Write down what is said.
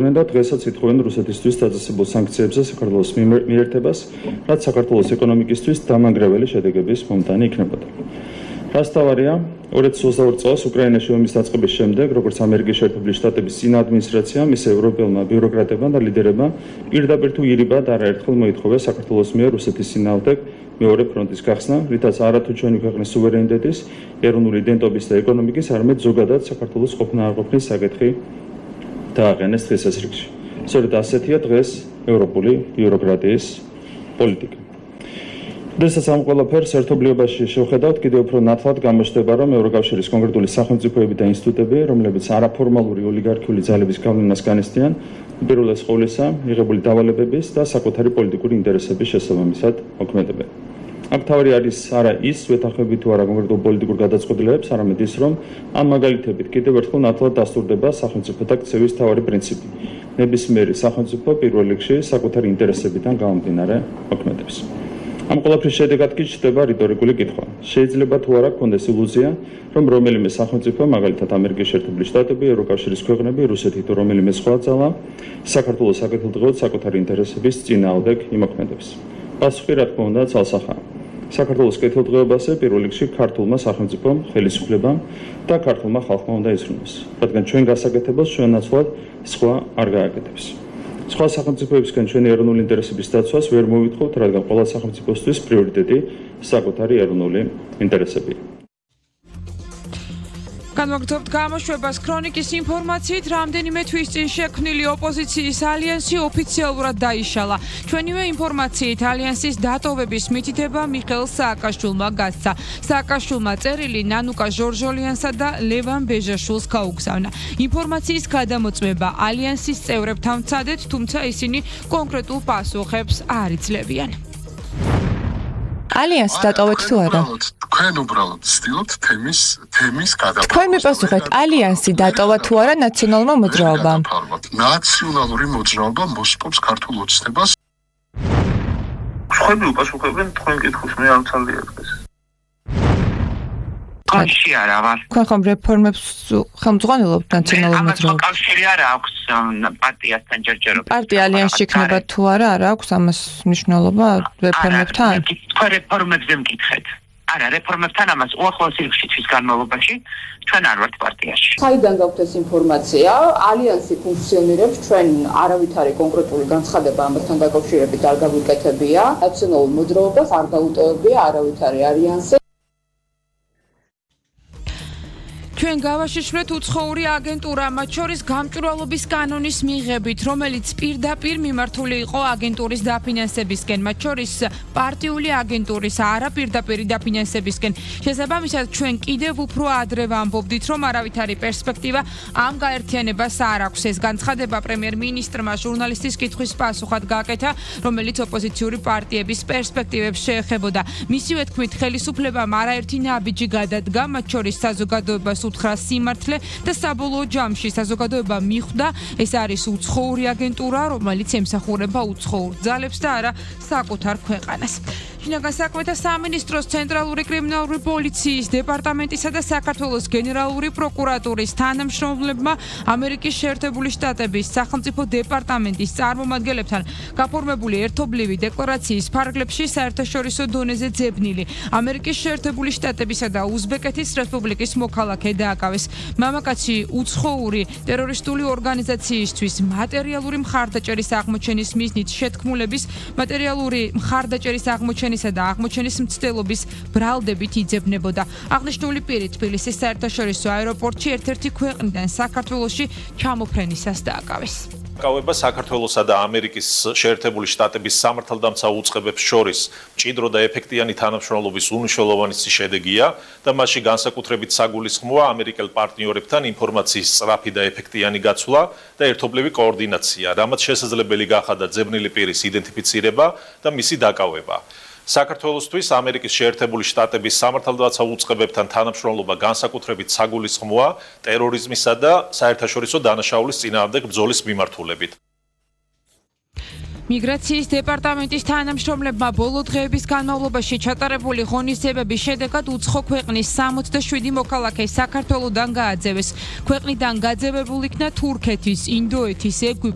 და დღესაც ითხოვენ რუსეთისთვის დაწესებულ სანქციებზე საქართველოს მიერთებას, რაც საქართველოს ეკონომიკისთვის დამანგრეველი შედეგების მომტანი იქნებოდა. რასთავარია, 2022 წელს უკრაინაში ომის დაწყების შემდეგ, როგორც ამერიკის შეერთებული შტატების წინა ადმინისტრაციამ, ისე ევროპელმა ბიუროკრატებმა და ლიდერებმა პირდაპირ თუ ირიბად არაერთხელ მოითხოვეს საქართველოს მიერ რუსეთის წინააღმდეგ მეორე ფრონტის გახსნა, რითაც არათუ ჩვენი ქვეყნის სუვერენიტეტის, ეროვნული იდენტობის და ეკონომიკის, არამედ ზოგადად საქართველოს ყოფნა არ ყოფნის საკითხი დააყენეს დღეს ეს რიგში. სწორედ ასეთია დღეს ევროპული ბიუროკრატიის პოლიტიკა. დღესაც ამ ყველაფერს ერთობლიობაში შევხედავთ, კიდევ უფრო ნათლად გამოჩნდება, რომ ევროკავშირის კონკრეტული სახელმწიფოები და ინსტიტუტები, რომლებიც არაფორმალური ოლიგარქიული ძალების გავლენას განიცდიან, პირველეს ყოვლისა მიღებული დავალებების და საკუთარი პოლიტიკური ინტერესების შესაბამისად მოქმედებენ. აქ თავი არის არა ის ვეთანხმებით თუ არა კონკრეტულ პოლიტიკურ გადაწყვეტილებებს, არამედ ის, რომ ამ მაგალითებით კიდევ ერთხელ ნათლად დასტურდება სახელმწიფოთა ქცევის მთავარი პრინციპი. ნებისმიერი სახელმწიფო პირველ რიგში საკუთარი ინტერესებიდან გამომდინარე მოქმედებს. ამ ყველაფრის შედეგად კი ჩნდება რიტორიკული კითხვა. შეიძლება თუ არა გქონდეს ილუზია, რომ რომელიმე სახელმწიფო, მაგალითად ამერიკის შეერთებული შტატები, ევროკავშირის ქვეყნები, რუსეთი თუ რომელიმე სხვა ძალა, საქართველოს საკეთილდღეოდ საკუთარი ინტერესების წინააღმდეგ იმოქმედებს. პასუხი რა თქმა უნდა ცალსახაა. საქართველოს კეთილდღეობაზე პირველ რიგში ქართულმა სახელმწიფომ, ხელისუფლებამ და ქართულმა ხალხმა უნდა იზრუნოს, რადგან ჩვენ გასაკეთებელს ჩვენ ნაცვლად სხვა არ გააკეთებს. სხვა სახელმწიფოებისგან ჩვენი ეროვნული ინტერესების დაცვას ვერ მოვითხოვთ, რადგან ყველა სახელმწიფოსთვის პრიორიტეტი საკუთარი ეროვნული ინტერესებია. განვაგრძობთ გამოშვებას ქრონიკის ინფორმაციით, რამდენიმე თვის წინ შექმნილი ოპოზიციის ალიანსი ოფიციალურად დაიშალა. ჩვენივე ინფორმაციით ალიანსის დატოვების მითითება მიხეილ სააკაშვილმა გასცა. სააკაშვილმა წერილი ნანუკა ჟორჟოლიანსა და ლევან ბეჟაშვილს გაუგზავნა. ინფორმაციის გადამოწმება ალიანსის წევრებთან ვცადეთ, თუმცა ისინი კონკრეტულ პასუხებს არ იძლევიან. ალიანსი დატოვეთ თუ არა? თქვენ უბრალოდ ვცდილობთ თემის გადაფარვას. თქვენ მიპასუხეთ, ალიანსი დატოვა თუ არა ნაციონალურმა მოძრაობამ? ნაციონალური მოძრაობა მოსპობს ქართულ ოცნებას. სხვები უპასუხებენ თქვენ კითხვის, მე არ ვცალდია დღეს. კავშირი არა ვარ. თქვენ ხომ რეფორმებს ხელმძღვანელობთ ნაციონალურ მოძრაობას? კავშირი არა აქვს პარტიასთან ჯერჯერობით. პარტია ალიანსში იქნება თუ არა, არ აქვს ამას მნიშვნელობა რეფორმებთან? თქვენ რეფორმებზე მკითხეთ. არა, რეფორმებთან ამას უახლოეს რიგში თვის განმავლობაში ჩვენ არ ვართ პარტიაში. საიდან გაქვთ ეს ინფორმაცია? ალიანსი ფუნქციონირებს, ჩვენ არავითარი კონკრეტული განცხადება ამასთან დაკავშირებით არ გაგვიკეთებია. ნაციონალურ მოძრაობას არ დაუტოვებია არავითარი ალიანსი. ჩვენ გავაშიშვლეთ უცხოური აგენტურა, მათ შორის გამჭვირვალობის კანონის მიღებით, რომელიც პირდაპირ მიმართული იყო აგენტურის დაფინანსებისკენ, მათ შორის პარტიული აგენტურის არაპირდაპირი დაფინანსებისკენ. შესაბამისად, ჩვენ კიდევ უფრო ადრე ვამბობდით, რომ არავითარი პერსპექტივა ამ გაერთიანებას არ აქვს. ეს განცხადება პრემიერ-მინისტრმა ჟურნალისტის კითხვის პასუხად გააკეთა, რომელიც ოპოზიციური პარტიების პერსპექტივებს შეეხებოდა. მისივე თქმით, ხელისუფლებამ არაერთი ნაბიჯი გადადგა, მათ შორის საზოგადოებას უთხრა სიმართლე და საბოლოო ჯამში საზოგადოება მიხვდა, ეს არის უცხოური აგენტურა, რომელიც ემსახურება უცხოურ ძალებს და არა საკუთარ ქვეყანას. შინაგან საქმეთა სამინისტროს ცენტრალური კრიმინალური პოლიციის დეპარტამენტისა და საქართველოს გენერალური პროკურატურის თანამშრომლებმა ამერიკის შეერთებული შტატების სახელმწიფო დეპარტამენტის წარმომადგენლებთან გაფორმებული ერთობლივი დეკლარაციის ფარგლებში საერთაშორისო დონეზე ძებნილი ამერიკის შეერთებული შტატებისა და უზბეკეთის რესპუბლიკის მოქალაქე დააკავეს. მამაკაცი უცხოური ტერორისტული ორგანიზაციისთვის მატერიალური მხარდაჭერის აღმოჩენის მიზნით შეთქმულების მატერიალური მხარდაჭერის აღმოჩენისა და აღმოჩენის მცდელობის ბრალდებით იძებნებოდა. აღნიშნული პირი თბილისის საერთაშორისო აეროპორტში ერთ-ერთი ქვეყნიდან საქართველოში ჩამოფრენისას დააკავეს. კავება საქართველოსა და ამერიკის შეერთებული შტატების სამართალდამცავ უწყებებს შორის მჭიდრო და ეფექტიანი თანამშრომლობის უმნიშვნელოვანესი შედეგია და მასში განსაკუთრებით საგულისხმოა ამერიკელ პარტნიორებთან ინფორმაციის სწრაფი და ეფექტიანი გაცვლა და ერთობლივი კოორდინაცია, რამაც შესაძლებელი გახადა ძებნილი პირის იდენტიფიცირება და მისი დაკავება. საქართველოსთვის ამერიკის შეერთებული შტატების სამართალდამცავ უწყებებთან თანამშრომლობა განსაკუთრებით საგულისხმოა ტერორიზმისა და საერთაშორისო დანაშაულის წინააღმდეგ ბრძოლის მიმართულებით. მიგრაციის დეპარტამენტის თანამშრომლებმა ბოლო დღეების განმავლობაში ჩატარებული ღონისძიებების შედეგად უცხო ქვეყნის 67 მოქალაქე საქართველოდან გააძევეს. ქვეყნიდან გაძევებულ იქნა თურქეთის, ინდოეთის, ეგვიპტის